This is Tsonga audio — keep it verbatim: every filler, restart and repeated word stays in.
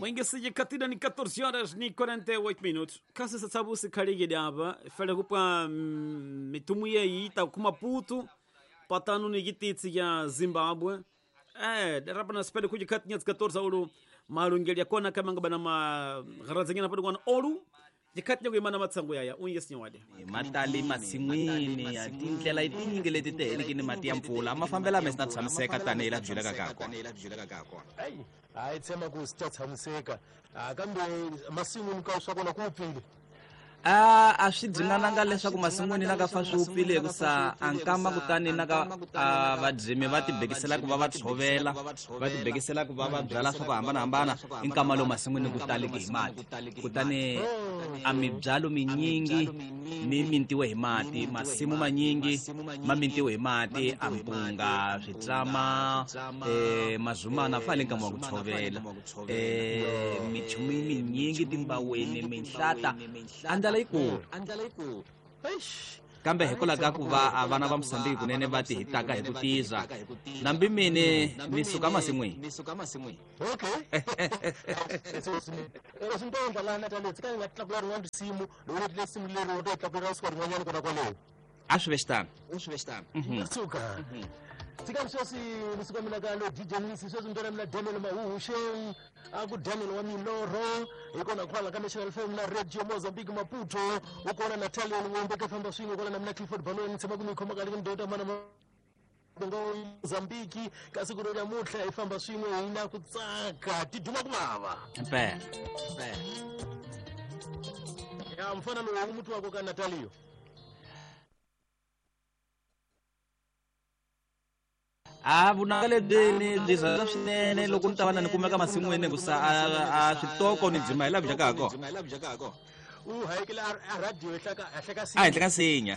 Mwingi katida ni catorze horas ni quarenta e oito minutos. Kasa sabu se kariga fela kupa mitumu ye ita kuma Maputo patano ni gititsi ya Zimbabwe. Eh, rapa na spele kuja katinha catorze ouro marungelia kona kamanga bana ma grazingina pado kona ouro jikatinha kuimana matsango yaya unye sinwade. Matali masin'wini ya tindlela tinyingi leti ti ni mati ya mpfula ma fambela me swi ta tshamiseka tanihi la byelaka ka kona. Hayi tshemba ku swi ta tshamiseka kambe masin'wini ka swa kona ku wupfile. A a swi dzinananga leswaku masin'wini na ka fa swi wupfile hikusa a nkama kutani na ka vabyimi va tibekisela ku va va tshovela va tibekisela ku va va byala swa ku hambanahambana i nkama lowu masin'wini ku taliki hi mati kutani a mibyalo minyingi mi mintiwe hi mati masimu manyingi ma mintiwe hi mati a mpunga switlama eh mazumana fa le nkama wa ku tshovela eh michumu minyingi timbaweni minhlata andala yikulu kambe hikwalaho ka ku va a vana va Mozambique kunene va ti hitaka hi ku tiza nambi mine ni suka masin'wini. Okay. A swi ve xitano. Tsikani sweswi ni suka mina ka lo D J Nisi sweswi ni mina Daniel Mahuxeng a ku Daniel wa Milorho hi kona kwala ka National F M na Radio Mozambique Maputo u kona Natalia Ngombe ka famba swin'we kwala na mina Clifford Baloni tshama ku mi khoma ka le ndota mana ngo Mozambique ka siku ro namuntlha hi famba swin'we hi na ku tsaka ti duma ku vava impela ya mfana lowu mutu wako ka Natalio a vunanga lebyi ni byi rhandza swinene loko ni ta va na ni kumeka masin'wini hikusa a switoko ni dzima hi laha byaka ha kona u hayekela a radio ehenhla ka a henhla ka nsinya.